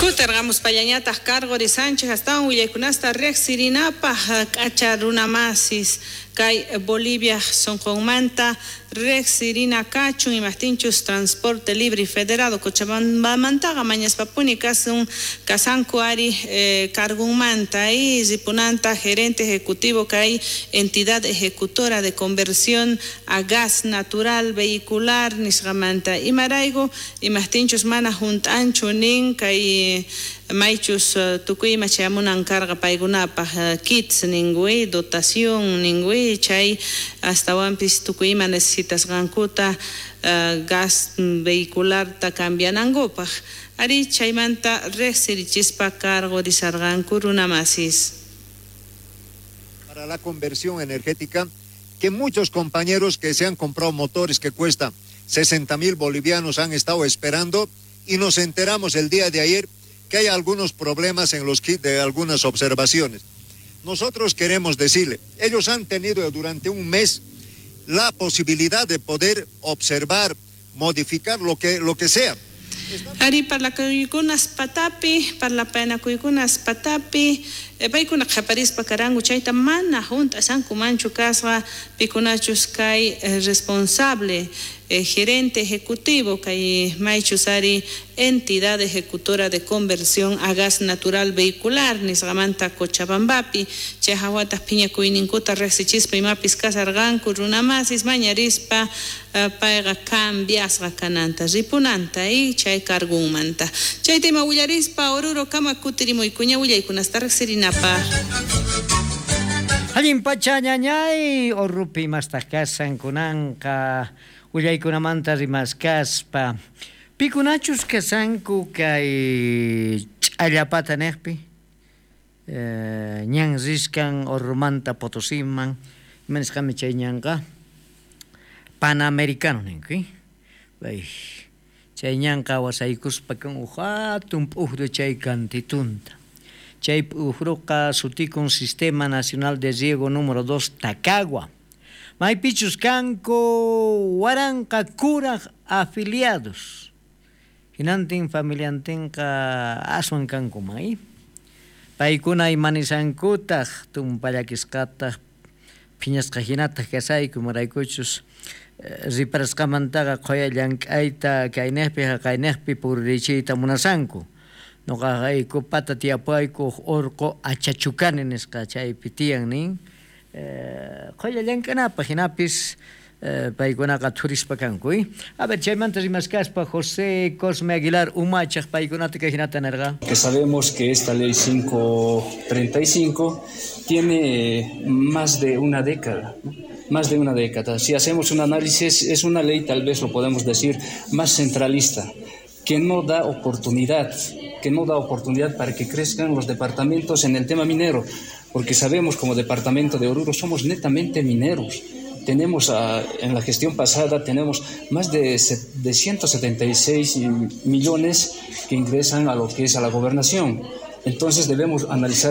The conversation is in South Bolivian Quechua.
Kutirqamuspallañataq karqurisanchik astawan willaykunasta riqsirinapaq k'acha runamasis kay Bolivia sunqunmanta riqsirina kachun imaqtinchus transporte libre y federado Cochabambamantaqa mañaspapuni kasun kasanku ari cargunmanta y ripunanta gerente ejecutivo kay entidad ejecutora de conversión a gas natural vehicular nisqamanta imarayku imaqtinchus mana hunt'anchu nin kay maychus tukuy ima chayamunan karqa paykunapaq kits ninkui dotación ninkui chay astawanpis tukuy ima necesitasqankuta gas vehicularta cambianankupaq ari chaymanta riqsirichispa karqurisarqanku runamasis. Para la conversión energética, que muchos compañeros que se han comprado motores que cuestan 60.000 bolivianos han estado esperando, y nos enteramos el día de ayer que hay algunos problemas en los kits de algunas observaciones. Nosotros queremos decirle, ellos han tenido durante un mes la posibilidad de poder observar, modificar lo que sea. Ari parlakuykunas patapi, parlapanakuykunas patapi, paykuna qhaparispa karanku chayta mana hunt'asankumanchu kasqa pikunachus kay responsable gerente ejecutivo kay maychus ari entidad ejecutora de conversión a gas natural vehicular nisqamanta Cochabambapi chay hawataq phiñakuyninkuta riqsichispa imapis kasarqanku runamasis mañarispa payqa cambiasqa kananta ripunanta y chay cargunmanta chay tema willarispa Oruro kama kutirimuykuña willaykunasta riqsirinapaq. Allin pacha ñañay Orupi imastaq kasan kunanqa willaykunamanta rimaskaspa pikunachus kasanku kay ch'allapata niqpi ñan riskan Orurumanta Potosiman ima nisqami chay ñanqa Panamericano ninku chay ñanqa wasaykuspa kan uj hatun p'ujru chay kantitunta chay p'ujruqa sutikun Sistema Nacional de Riego número 2 Tacagua maypichus kanku waranqa kuraj afiliados hinantin familiantinqa aswan kankuman paykuna imanisankutaq tumpallakisqataq phiñasqa hinataq kasayku imaraykuchus riparasqamantaqa qhuya llank'ayta kayniqpi haqayniqpi puririchiyta munasanku nuqaqayku pata tiyapayku urqu achachukani nisqa chaypi tiyan nin qhuya llank'anapaq hinapis paykunaqa thurispa kanku. A ver, chaymanta rimaskaspa José Cosme Aguilar umachaq paykunata kay hinata nirqa. Que sabemos que esta ley 535 tiene más de una década, ¿no? Más de una década. Si hacemos un análisis, es una ley, tal vez lo podemos decir, más centralista, que no da oportunidad, para que crezcan los departamentos en el tema minero, porque sabemos como departamento de Oruro somos netamente mineros. Tenemos en la gestión pasada tenemos más de 176 millones que ingresan a lo que es a la gobernación. Entonces debemos analizar